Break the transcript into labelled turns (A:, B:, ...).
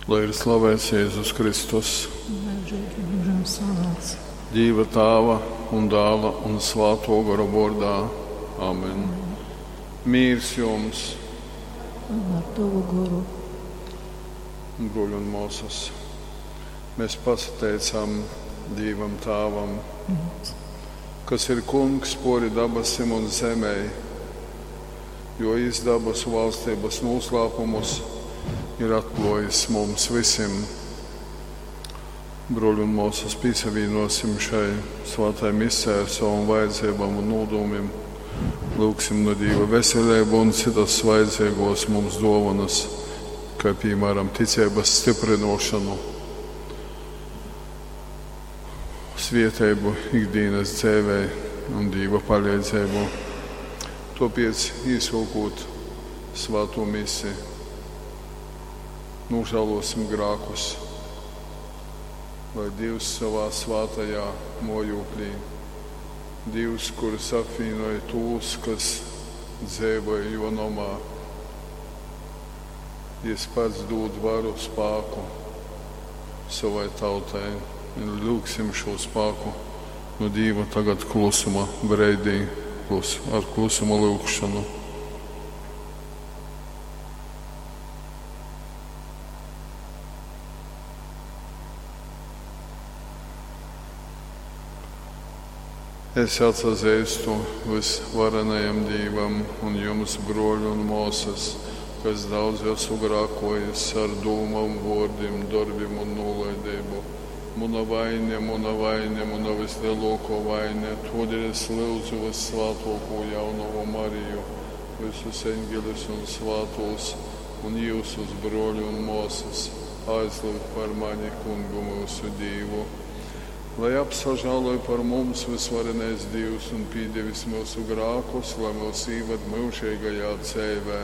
A: Lai ir slavēts Jēzus Kristus,
B: Mūžīgi mūžam slavēts.
A: Dieva Tāva un Dāla un Svāto Gora vārdā. Amen. Mīrs jums,
B: Un ar tavu goru.
A: bruļi un māsas. Mēs pasateicam Dievam Tāvam, kas ir kungs pori dabasim un zemē, jo izdabas valstības noslēpumus ir atklājis mums visiem. Bruļi un māsas, piesavienosim šai svētai misē ar savām vajadzībām un nodomiem. Lūgsim no Dieva veselību un citas vajadzīgos mums dovanas, kā piemēram ticības stiprinošanu, svietēbu ikdienas dzīvē un Dieva palīdzību. Tāpēc īsokot svēto misi, nožēlosim grākus, lai Dievs savā svētajā mojūklī, Dievs, kurš apvienoja tos, kas dzīvoja jo nomā, Jis pats dod varu spēku savai tautai. Un lūgsim šo spēku no Dieva tagad klusuma breidī, klus, ar klusuma lūgšanu. Es atsazīstu visvarenajam Dievam un jums, broļi un māsas, kas daudz esmu grākojis ar dūmām, vārdiem, darbiem un nolaidību. Muna vaine, muna vaine, muna vislielāko vaine, todēļ es lūdzu vissvētāko jaunavu Mariju, visus eņģeļus un svētos, un jūsus broļi un māsas, aizlūgt par mani kungu mūsu Dievu. Lai apsažāloj par mums visvarenais Dievs un piedevis mūsu grākus, lai mūs īved mūžīgajā dzīvē.